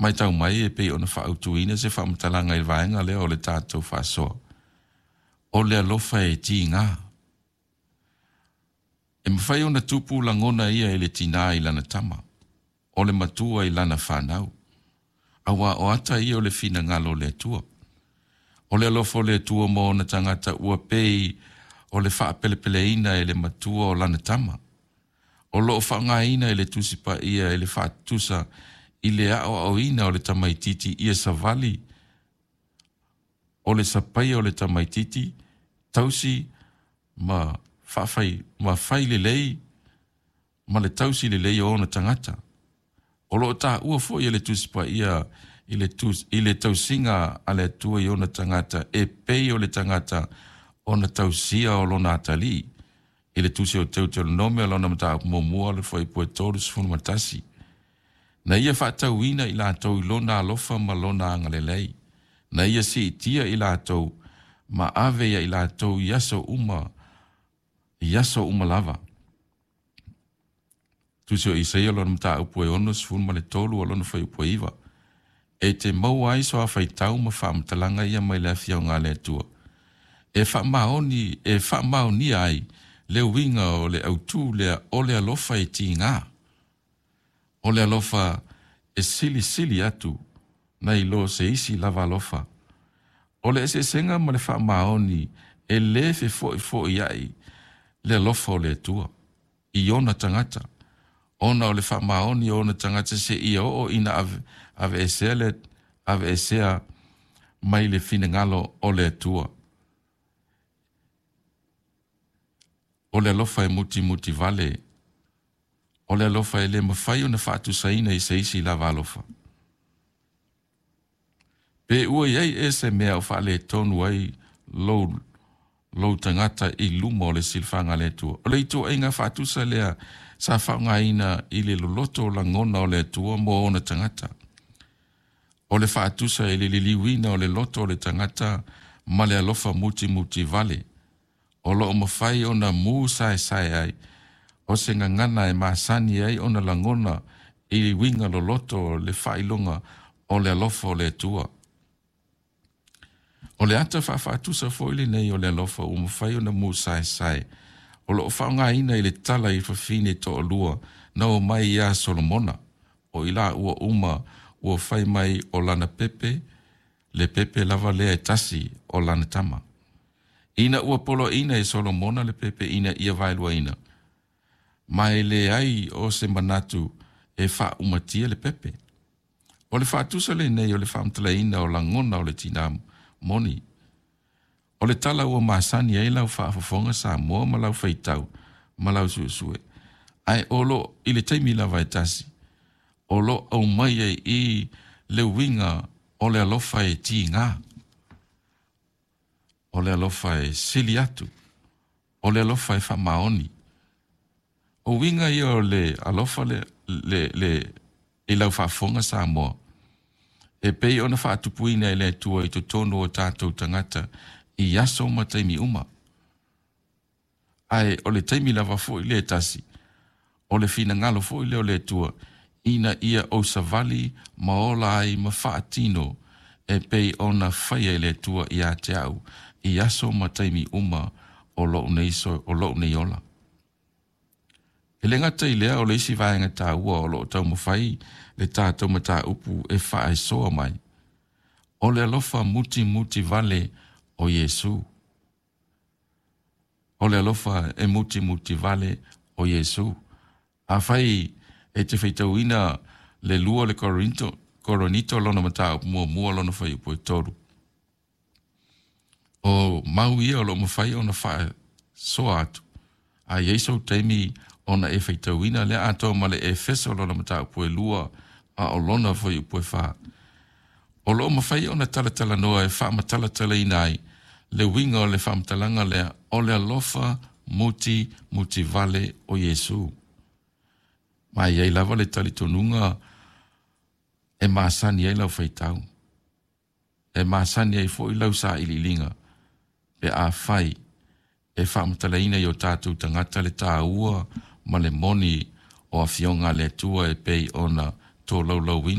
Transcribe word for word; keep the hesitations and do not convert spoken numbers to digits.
Matau mai e pei ona faaautuina se faamatalaga i le vaega lea o le tatou faasoa. O le alofa e tiga. E mafai ona tupu lagona ia i le tinā i lana tama, o le matua i lana fanau. Aua o ata ia o le finagalo o le Atua. O le alofa o le Atua mo ona tagata ua pei o le faapelepeleina e le matua o lana tama. O lo o faaaogaina e le Tusi Paia e le faatusa i le aoaoina o le tamaititi ia savali o le sapaia o le tamaititi, tausi ma faafai ma fai lelei ma le tausi lelei o ona tagata. O lo o taua foi e le Tusi Paia i le, tus, i le tausiga a le Atua i ona tagata e pei o le tagata ona tausia o lona atalii. I le tusi o Teuteronome lona mataupu muamua le fuaiupu e tolu ma tasi. Na ia faatauina i latou i lona alofa ma lona agalelei. Na ia siitia i latou ma ave ia i latou i aso uma, i aso uma lava. Tusi o Isaia lona mataupu e ono sefulu ma le tolu o lona fuaiupu e iva. E te maua ai so faitau ma faamatalaga ia mai le afioga a le Atua. E faamaoni, e faamaonia ai le uiga o le autū lea o le alofa e tiga. O le alofa e silisili atu nai lo se isi lava alofa. O le eseesega ma le faamaoni e lē fefo'ifo'i ai le alofa o le Atua i ona tagata. Ona o le faamaoni o ona tagata se ia oo ina ave, aveesea le aveesea mai le finagalo o le Atua. O le alofa e mutimuti vale. O le alofa e le mafai ona faatusaina i se isi lava alofa. Pe ua i ai e se mea o faaletonu ai lou, lou tagata i luma o le silafaga a le Atua. O le ituaiga faatusa lea sa faaaogaina i le loloto o lagona o le Atua mo ona tagata. O le faatusa i le liliuina o le loto o le tagata ma le alofa mutimuti vale. O lo o mafai ona mu saesae ai, o se gagana e masani ai ona lagona i uiga loloto o le faailoga o le alofa o le Atua. O le ata faafaatusa foi lenei o le alofa ua mafai ona mu saesae. O lo o faaaogaina i le tala i fafine toalua na o mai ia Solomona. O i la ua uma ua fai mai o lana pepe, le pepe lava lea e tasi o lana tama. Ina ua poloaina e Solomona le pepe ina ia vaeluaina. Ma e leai o se manatu e faaumatia le pepe. O le faatusa lenei o le faamatalaina o lagona o le tinā moni. O le tala ua masani ai lau faafofoga Samoa ma lau faitau ma lau suesue. Ae o lo i le taimi lava e tasi. O lo aumai ai i le uiga o le alofa e tiga. O le alofa e sili atu. O le alofa e faamaoni. O uiga ia o le alofa le, le, le, i lau faafofoga Samoa. E pei ona faatupuina e le Atua i totonu o tatou tagata i aso ma taimi uma. Ae o le taimi lava foi le tasi. O le finagalo foi lea o le Atua ina ia ou savali ma ola ai ma faatino e pei ona faia e le Atua ia te au i aso ma taimi uma o lou nei, so, o lou nei ola. E le gata i lea o le isi vaega taua o lo o taumafai le tatou mataupu e faaesoa mai. O le alofa mutimuti vale o Iesu. O le alofa e mutimuti vale o Iesu. Afai e te faitauina le lua le Korinto, Korinito lona mataupu muamua lona fuaiupu e tolu. O mau ia o lo o mafai ona faasoa atu. A i ai sou taimi ona e faitauina lea atoa ma le Efeso lona mataupu e lua a o lona fuaiupu e fa. O lo o mafai ona talatalanoa e faamatalatalaina ai le uiga o le faamatalaga lea o le alofa muti muti vale o Iesu. Ma e i ai lava le talitonuga e masani ai lau faitau. E masani ai foi lau sailiiliga pe afai e faamatalaina i o tatou tagata le taua ma le moni o afioga a le Atua e pei ona tolaulauina.